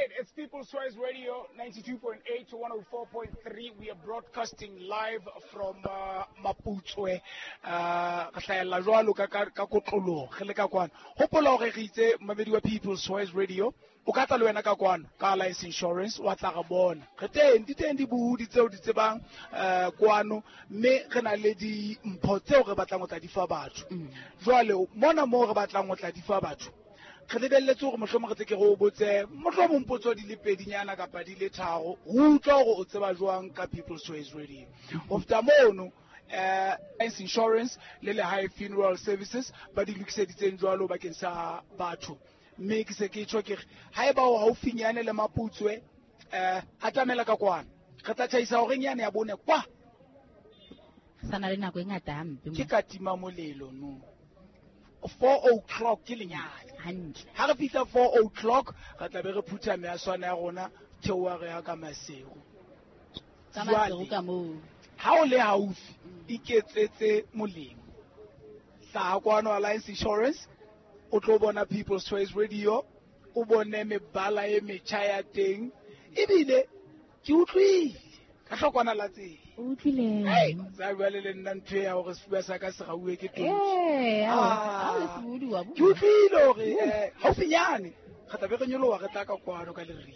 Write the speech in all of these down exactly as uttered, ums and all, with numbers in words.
right, it's People's Choice Radio ninety-two point eight to one oh four point three. We are broadcasting live from uh, Maputswe. Uh, re hlahella jwalo ka, ka, ka kotloloho, re le ka kwano. Hopola hore re itse mamedi wa People's Choice Radio, o ka tla le wena ka kwano, ka Alliance Insurance, wa tla re bona. Re teng, di teng dibohodi tseo di tsebang, eh, kwano, mme re na le dimpho tseo re batlang ho tla di fa batho. Mm. Jwale, mona moo re batlang ho tla di fa batho, re lebelletse hore mohlomong re tle ke re o botse, mohlomong potso di le pedinyana kapa di le tharo, ho utlwa hore o tseba jwang ka People's Choice Radio. Ho feta mono, eh, Alliance Insurance le Lehae Funeral Services ba di lokiseditseng jwalo bakeng sa batho. Mme ke se ke tjho ke re, haeba o haufinyane le Maputswe, eh, atamela ka kwano. Re tla tjhaisa horeng yane ya bone kwa. Sa na le nako e ngata hampe mo. Ke ka tima molelo no. Four o'clock ke lenyane. Hantle. Ha re fihla four o'clock, re tla be re phutha measwana ya rona, theoha re ya ka Maseru. Ka Maseru Jwale, ka moo. ha o le haufi, iketsetse molemo. Hlaha kwano Alliance Insurance, o tlo bona People's Choice Radio, o bone mebala e metjha ya teng. Ebile ke utlwile ka hlokwana la tsela. O utlwile. Hey, tsa jwale le nna ntho ya hore sefuba sa ka se rauwe ke tonki. Eh, ha o- Ah. ha o le sebodi wa bua. Ke utlwile hore, eh, haufinyane re tla be re nyoloha re tla ka kwano ka leriri.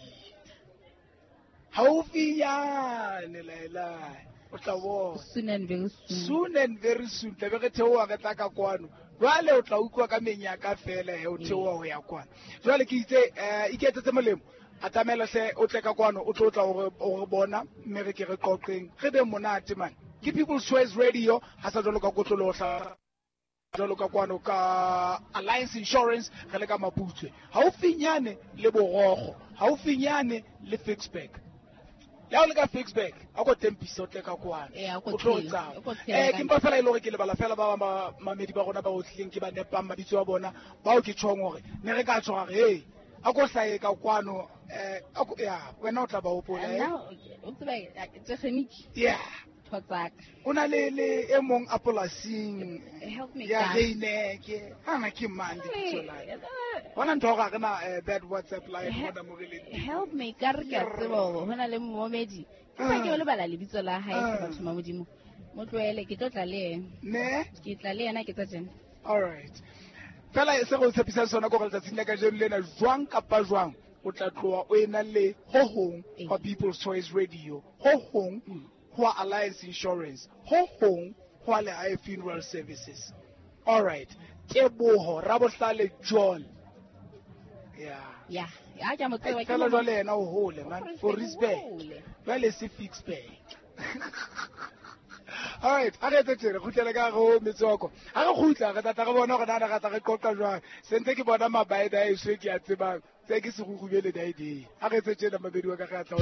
Haufinyane, laelae, o tla bona. Soon and very soon. Soon and very soon, tla be re theoha re tla ka kwano. Jwale o tla utlwa ka menyaka fela he, o theoha ho ya kwano. Jwale ke itse, eh, iketsetse molemo. Atamela hle, o tle ka kwano, o tlo tla o re, o re bona, mme re ke re qoqeng. Re be monate man. Ke People's Choice Radio, ha sa jwalo ka kotloloho hla jwalo ka kwano ka Alliance Insurance, re le ka Maputswe. Haufinyane le Borokgo, haufinyane le Ficksburg. Le ha o le ka Ficksburg, a ko tempisa o tle ka kwano. Eh, a ko O tlo re tshela, tsama. a ko tshela Eh, ka ke mpa fela e le hore ke lebala fela ba bang ba mamedi ba rona ba otlileng ke ba nepang mabitso a bona, bao ke tjhong hore ne re ka tjho hore, hey, a ko hlahe ka kwano, eh, a ko, ya, wena o tla ba hopola, eh. Nna, o tseba, tekgeniki. Yeah. Ntho tsa ka. O na le, le e mong a polasing Help me ya ka. Reineke. Ha na ke mang lebitso la hae? Eh, Hona ntho ya hore ha re na, eh, bad WhatsApp line He- mona mo re leng teng. Help me ka re ke a tseba hore ho na le momedi. Ke sa ke o lebala lebitso la hae, Ah. batho ba Modimo. Mo tlohele, ke tlo tla le yena. Ne? Ke tla le yena ke tsa tjena. All right. Fela se re o tshepisang sona ke hore letsatsing la kajeno lena, jwang kapa jwang, o tla tloha o ena le ho hong Ee. hwa People's Choice Radio, ho hong hwa Alliance Insurance, ho hong hwa Lehae Funeral Services. All right. Teboho Rabohlale John. Yeah. Ya, ya, ke a mo tseba, ke Fela mo- jwale yena o hole, man. O For respect. hole. Jwale se Ficksburg. All right, ha re etse tjena, re kgutlele ka hare ho metswako. Ha re kgutla, re tla tla re bona hore na re tla re qoqa jwang. Se ntse ke bona mabaeda a eso ke a tsebang. Tse ke sekgukgubele dae day. Ha re etse tjena, mamedi wa ka, re a tla ho